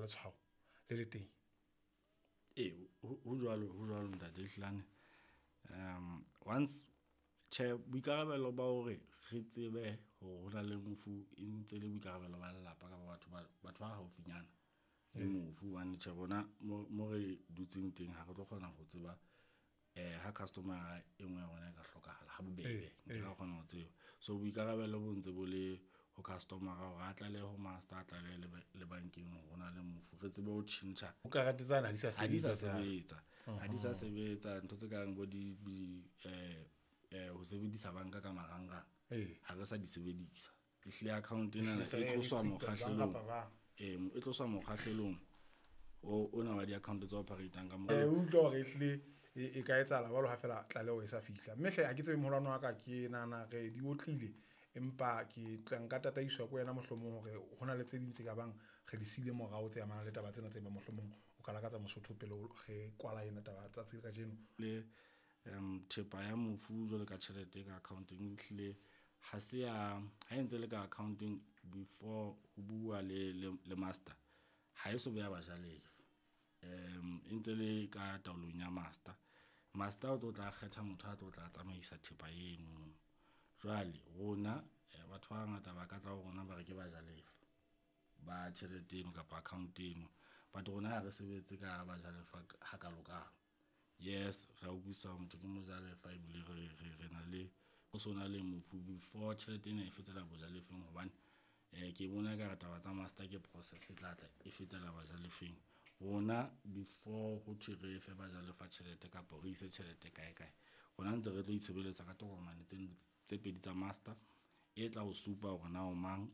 letshwao le le teng. Ee, ho jwalo, ho jwalo ntate Hlilane. Once tjhe, boikarabelo ba hore re tsebe hore hona le mofu e ntse le boikarabelo ba lelapa kapa batho ba haufinyana le mofu. Hobane tjhe rona mo re dutseng teng ha re tlo kgona ho tseba ha customer-a e nngwe ya rona e ka hlokahala ha bobebe, nke ra kgona ho tseba. So boikarabelo bo ntse bo le ho customer-a hore a tlalehe ho master, a tlalehe le bankeng hore hona le mofu, re tsebe ho tjhentjha. Ho karete tsane ha di sa Ha di sa sebetsa. Sebetsa, ha di sa sebetsa ntho tse kang bo di ho sebedisa banka ka marangrang. Ha re sa di sebedisa, ehlile account ena Ehlile e tloswa restricted, bang mokgahlelong. Kapa bang. Ee, e tloswa mokgahlelong ona wa di-account tse operate-ang ka O utlwa hore ehlile e ka etsahala jwalo ha fela tlaleho e sa fihla. Mme hle ha ke tsebe moholwane wa ka, ke nahana re di otlile, empa ke tla nka tataiswa ke wena mohlomong hore hona le tse ding tse ka bang re di siile morao tse amanang le taba tsena tse bang mohlomong o ka lakatsa Mosotho pele re kwala ena taba tsatsi la kajeno. Le thepa ya mofu jwalo ka tjhelete ka account-eng, ehlile ha se ya ha e ntse le ka account-eng before ho bua le master, ha e so be ya bajalefa. E ntse le ka taolong ya master. Master o tlo tla kgetha motho a tlo tla tsamaisa thepa eno. Jwale rona batho ba bangata ba ka tla ho rona ba re ke bajalefa ba tjhelete eno kapa account eno, but rona ha re sebetse ka bajalefa hakalokalo. Yes, ra utlwisisa hore motho ke mojalefa ebile re na le ho so na le mofu before tjhelete ena e fetela bojalefeng, hobane ke bona ekare taba tsa master ke process e tla tla e fetela bajalefeng. Rona before ho thwe re fe bajalefa tjhelete kapa re ise tjhelete kae kae, rona ntse re tlo itshebeletsa ka tokomane tse pedi tsa master e tla o supa hore na o mang,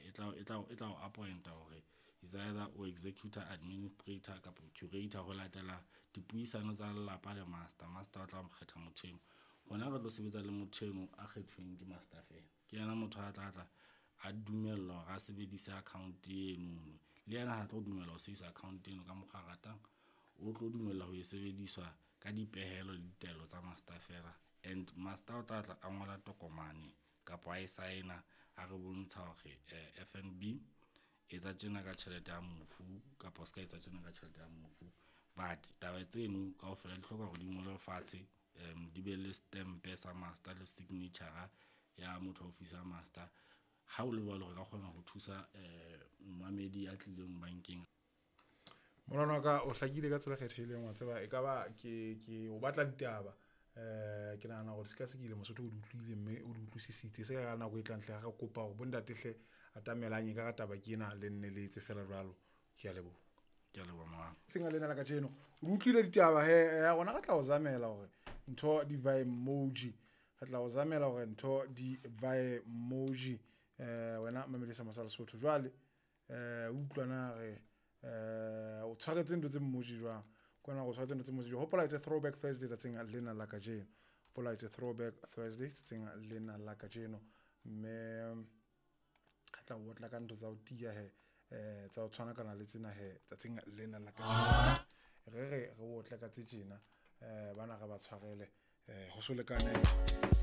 e tla o appoint-a hore is either o executor, administrator kapa curator ho latela dipuisano tsa lelapa le master. Master o tla kgetha motho eno, rona re tlo sebetsa le motho eno a kgethuweng ke master fela. Ke yena motho a tla tla a dumellwa hore a sebedise account enono, le yena ha tlo dumela ho sebedisa account eno ka mokgwa a ratang, o tlo dumella ho e sebediswa ka dipehelo le ditaelo tsa master fela. And master o tla tla a ngola tokomane kapa a e sign-a a re bontsha hore FNB etsa tjena ka tjhelete ya mofu kapa o ska etsa tjena ka tjhelete ya mofu. But taba tseno kaofela di hloka hore di ngolwe fatshe, di be le stempe sa master le signature ya motho office ya master. Ha o le jwalo re ka kgona ho thusa momamedi ya tlileng bankeng. Molwana wa ka, o hlakile ka tsela e kgethehileng, wa tseba e ka ba ke o batla ditaba. Ke nahana hore sekasekile Mosotho o di utlwile mme o di utlwisisitse. Se ka nako e tlang hle re kopa hore bontate hle atamelang e ka ra taba ke ena le nne le etse fela jwalo. Ke a leboha. Ke a leboha mohang. Tsenga lena la kajeno o di utlwile ditaba he, rona re tla o zamela hore ntho di vae emoji, re tla o zamela hore ntho di vae emoji. Wena mamedisa mosa Lesotho jwale utlwa na re o tshwaretse ntho tse emoji jwang kona go tshwaretse ntho tse emoji jwang. Hopola, it's a Throwback Thursday tsatsing lena la kajeno. Hopola, it's a Throwback Thursday tsatsing lena la kajeno, mme re tla o otla ka ntho tsa ho tiya he, tsa ho tshwanakana le tsena he tsatsing lena la kajeno. Re re otle ka tse tjena, bana re ba tshwarele ho so lekane.